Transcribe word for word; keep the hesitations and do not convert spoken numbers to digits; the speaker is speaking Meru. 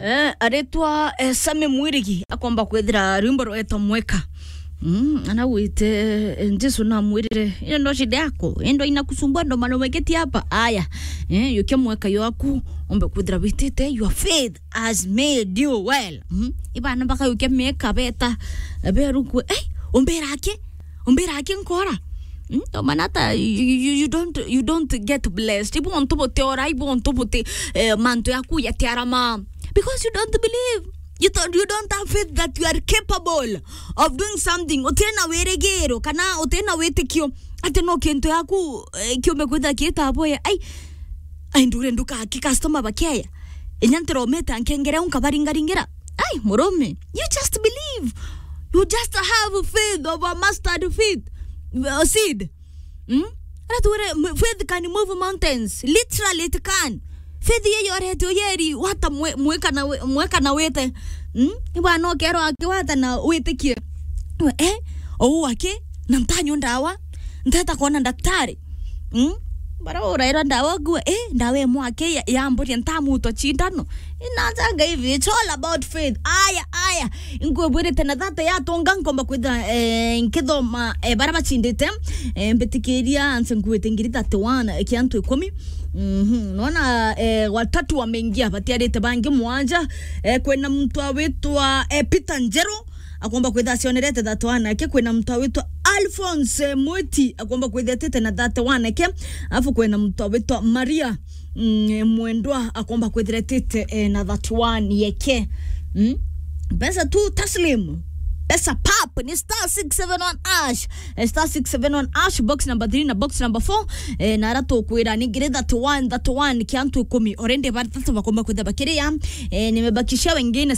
Eh, aritwa, eh, Sami Mwirigi akomba kwithira rwimbo rwetwa Mweka. Mm, anagwite, eh, Jesu namwirire, "Iyo ndo shida yako, endo inakusumbua ndo maana umeketi hapa." Aya, eh, yukia mweka yaku, ombe kwithira witite, "Your faith has made you well." Mm, ibana baka yukia mieka beta, eh, beruku, "Eh, umbira ki? Umbira ki nkora?" Mm, ndo maana hata you, you, you don't, you don't get blessed. Ibo ontu bote ora, ibo ontu bote, eh, mantu yaku yatiarama. Because you don't believe. You don't, you don't have faith that you are capable of doing something. Utina wirigiro kana utina witikio ati no kintu yaku, eh, kiumbe kwitha kiita boya. Ai, ai, ndure nduka ki customer bakeya. Inya ntiromete ankengere unka baringaringira. Ai, murume, you just believe. You just have faith of a mustard faith, uh, seed. Mm? Ara twire, m-, faith can move mountains. Literally, it can. Faith iyo yorete uyeri, wata mwe-, mweka na we-, mweka na wite. Mm? Ibwana ukerwa aki wata na witikie. We, eh? Ou aki, na ntanywa ndawa, nteta kwona daktari. Mm? Bara uraira ndawa gwe, eh? Ndawa imwe aki ya, ya mburi ntamutwa cindano. Inanjanga hivi, it's all about faith. Aya, aya. Inkwibwirite na thate yatonga nkomba kwitha, eh, nkithoma, eh, bara bachindite, eh, mbitikiria anse nkuite ngiri thirty-one kia antu ikumi. Mhm. Nona, eh, watatu wameingia, batiarite bangi mwanja. Eh, kwina muntu awitwa, eh, Peter Njeru, akomba kwitha acionerete thirty-one ake. Kwina muntu awitwa Alphonse Mwiti, akomba kwitha etite na thirty-one ake. Alafu kwina muntu awitwa Maria, mm, Mwendwa akomba kwithira etite, eh, na thirty-one yeke. Mm? Pesa tu taslim. Pesa pap ni star six seven one hash. Eh, star six seven one hash, box number three na box number four. Eh, na ara tukwira ni ngiri thirty-one, thirty-one kia antu ikumi. Already bathatu bakomba kwitha bakiria. Eh, nimebakishia wengine